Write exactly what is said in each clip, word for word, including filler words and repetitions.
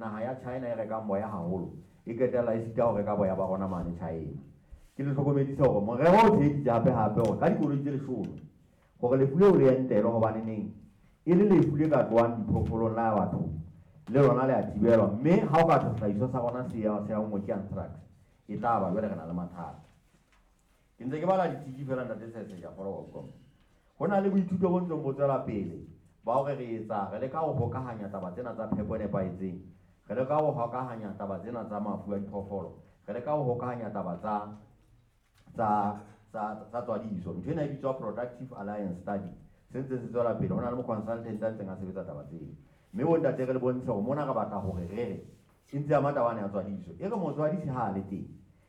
naha ya China e rekang boya haholo e qetella e sita ho reka boya ba rona mane China. Ke le hlokomedisa hore morero o tsheheditse hape hape hore ka dikoloi tse leshome hore lefu leo le entelwe, hobane neng e le lefu le ka tlohang diphoofolong la batho le lona le a thibelwa, mme ha o ka thwe sehlahiswa sa rona se ya se anngwe ke anthrax e tla ba jwale re na le mathata. Ke ntse ke bala ditiki fela ntate Tshetshe, ke a kgolwa wa utlwa. Ho na le boithuto bo ntseng bo tswela pele ba hore re etsa re leka ho hokahanya taba tsena tsa phepo e nepahetseng, re leka ho hokahanya taba tsena tsa mafu a diphoofolo, re leka ho hokahanya taba tsa tsa tsa tsa tswadiso. Ntho ena e bitswa Productive Alliance Study, se ntse se tswela pele. Ho na le mo consultant a ntseng a sebetsa taba tseo, mme bontate re le bontshe hore mona re batla hore re re e ntse ama taba ena ya tswadiso. E re motswadisi ha a le teng,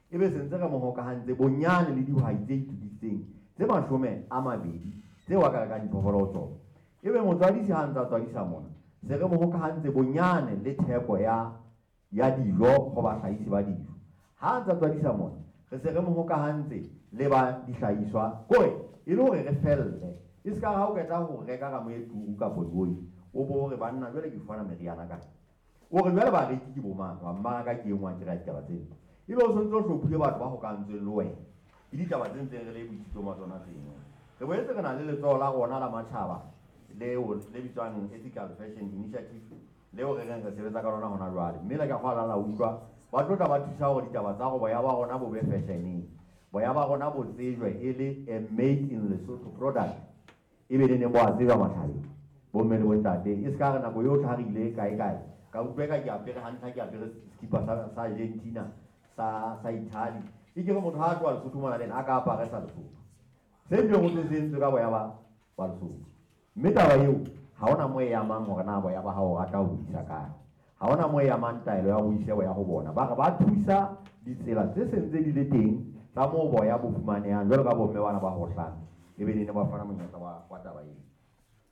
ebe se ntse re mo hokahantse bonyane le dihwai tse itokisitseng tse mashome a mabedi tseo a ka rekang diphoofolo ho tsona. Ebe motswadisi ha ntse a tswadisa mona, se re mo hokahantse bonyane le theko ya ya dijo ho bahlahisi ba dijo. Ha ntse a tswadisa mona, re se re mo hokahantse le ba dihlahiswa, kore e le hore re felle. E ska ha o qeta ho reka ramo e turu kapa dioi, o bo hore banna jwale ke fumana meriana kae? O re jwale bareki ke bo mang? Wa mmaraka ke e nngwe akere ya ditaba tsena. Ebe o sontse o hlophile batho ba hokahantsweng le wena. Ke ditaba tse ntseng re le boithutong ba tsona tseno. Re boetse re na le letsoho la rona la matjhaba leo le bitswang Ethical Fashion Initiative, leo re reng re sebetsa ka lona hona jwale. Mme le ka kgolwa la utlwa ba tlo tla ba thusa hore ditaba tsa hore boya ba rona bo be fashioneng, boya ba rona bo tsejwe e le a made in Lesotho product, ebe le neng bo a tsejwa matjhabeng, bomme le bontate. E ska re nako yotlhe ha re ile kae kae ka utlwa eka ke apere hantle, ha ke apere sekipa sa, sa Argentina, sa, sa Italy. E ke re motho ha a tloha Lesotho mona le ena a ka apare sa Lesotho, se bileng ho ntse se entswe ka boya ba, ba Lesotho. Mme taba eo ha hona moo e amang hore na boya ba hao o rata ho bo isa kae, ha hona moo e amang taelo ya ho ise boya ho bona. Ba re ba thusa ditsela tse seng tse di le teng tsa moo boya bo fumanehang, jwalo ka bomme bana ba hohlang, ebe ne ba fana monyetla wa, wa taba eo.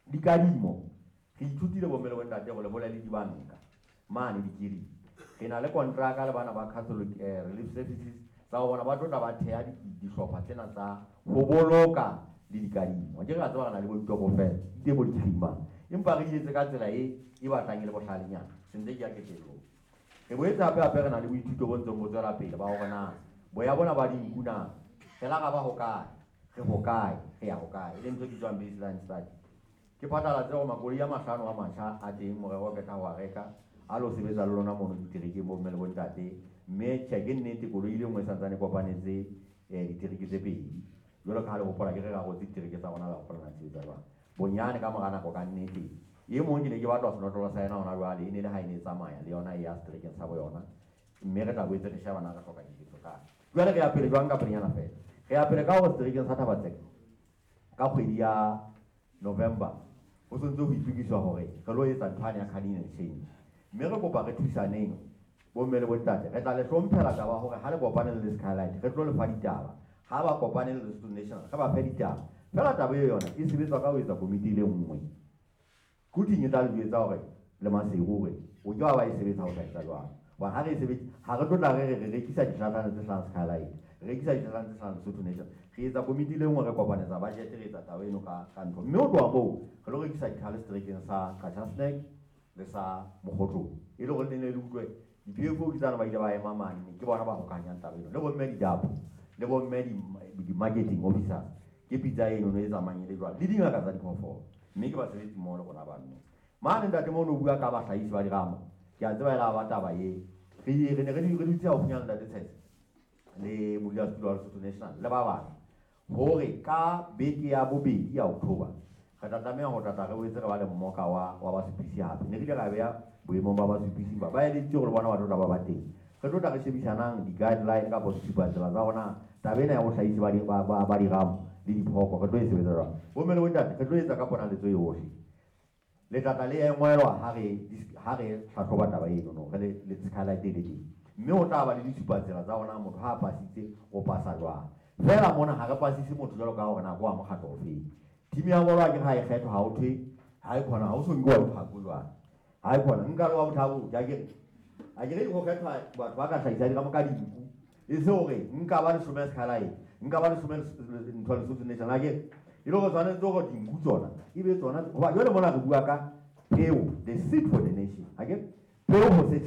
Dikadimo re ithutile bomme le bontate hore le hole le dibanka mane dikiring. Re na le kontraka le bana ba Catholic, eh, Relief Services tsa ho bona ba tlo tla ba theha di-, dihlopha tsena tsa ho boloka le dikadimo. Ke re a tseba re na le bo ditokofela, di teng bo dikiring mane, empa re di etse ka tsela e, e batlang e le bohlalenyana. Se ntse ke ya qetellong. Re boetse hape hape re na le boithuto bo ntseng bo tswela pele ba hore na boya bona ba dinku na re la ra ba hokae, re hokae, re ya hokae, e leng ntho e bitswang baseline study. Ke phatlalatse hore makoloi a mahlano a matjha a teng, morero o qeta ho a reka, a lo sebetsa le lona mono diterekeng bomme le bontate. Mme tjhe, ke nnete koloi e le nngwe e santsane e kopanetse, eh, ditereke tse pedi. Jwalo ka ha le hopola ke re ra rotse ditereke tsa rona, la hopola na sebetsa jwang. Bonyane ka mora nako ka nnete, e mong ke ne ke batla senotlolo sa yena hona jwale, e ne le ha e ne e tsamaya le yona e ya seterekeng sa bo yona. Mme re tla boetse re sheba na re hloka diketso kae. Jwale re ya pele jwang ka pelenyana fela? Re ya pele ka hore seterekeng sa Thaba-Tseka ka kgwedi ya November ho sontse ho itokiswa hore re lo etsa ntho yane ya culling and change. Mme re kopa re thusaneng bomme le bontate, re tla le hlomphela taba hore ha le kopane le Skylight re tlo le fa ditaba, ha ba kopane le Lesotho National re ba fe ditaba. Fela taba eo yona e sebetswa ka ho etsa komiti e le nngwe. Quthing e tla le jwetsa hore le Maseru hore o ke wa ba e sebetsa ho tla etsa jwang. Hobane ha re e sebetse, ha re tlo tla re re re rekisa dihlahlana tse hlahang Skylight, re rekisa dihlahlana tse hlahang Lesotho National, re etsa komiti e le nngwe, re kopanetsa budget, re etsa taba eno ka, ka ntho. Mme ho tloha moo re lo rekisa dikhale seterekeng sa Qacha's Nek le sa Mokhotlong, e le hore le ne le utlwe di-P F O ke tsane ba ile ba ema mane, ke bona ba hokahanyang taba eno le bomme didapo le bomme di-, di-marketing officers, ke pitsa eno e tsamayang e le jwalo le dingaka tsa diphoofolo, mme ke basebetsi mmoho le rona bano. Mane ntate mono o bua ka bahlahisi ba diramo, ke a tseba e la ba taba e. Re, re ne re di-, re dutse haufinyana le ntate Tshetse le modulasetulo wa Lesotho National le ba bang, hore ka beke ya bobedi ya October re tla tlameha ho tla tla re boetse re ba le mmoka wa, wa basupisi hape. Ne re ile ra beha boemong ba basupisi ba, ba eleditse hore le bona ba tlo tla ba ba teng. Re tlo tla re shebisanang di-guideline kapa ditshupatsela tsa rona taba ena ya bohlahisi ba di-, ba, ba, ba diramo le diphoko re tlo e sebetsa jwang. Bomme le bontate, re tlo etsa ka ponaletso yohle. Le tla tla le engwelwa ha re dis-, ha re hlahloba taba eno no, re le, le Skylight e le teng. Mme ho tla ba le ditshupatsela tsa rona motho ha a pasitse o pasa jwang. Feela mona ha re pasise motho jwalo ka hore na ke wa mokgatlo ofeng. Team ya bolo akere ha e kgethwa, ha ho thwe ha e khona, ha o so nkuwa bothako jwang. Ha e khona, nka le wa bothako, ke akere. Akere ho kgethwa batho ba ka hlahisa diramo ka dinku. E se hore nka ba leshome Skylight, nka ba leshome ntho ya Lesotho National, akere. E le hore tshwanetse hore dinku tsona e be tsona, hoba jwale mona re bua ka peo, the seed for the nation, akere. Peo ho setjhaba.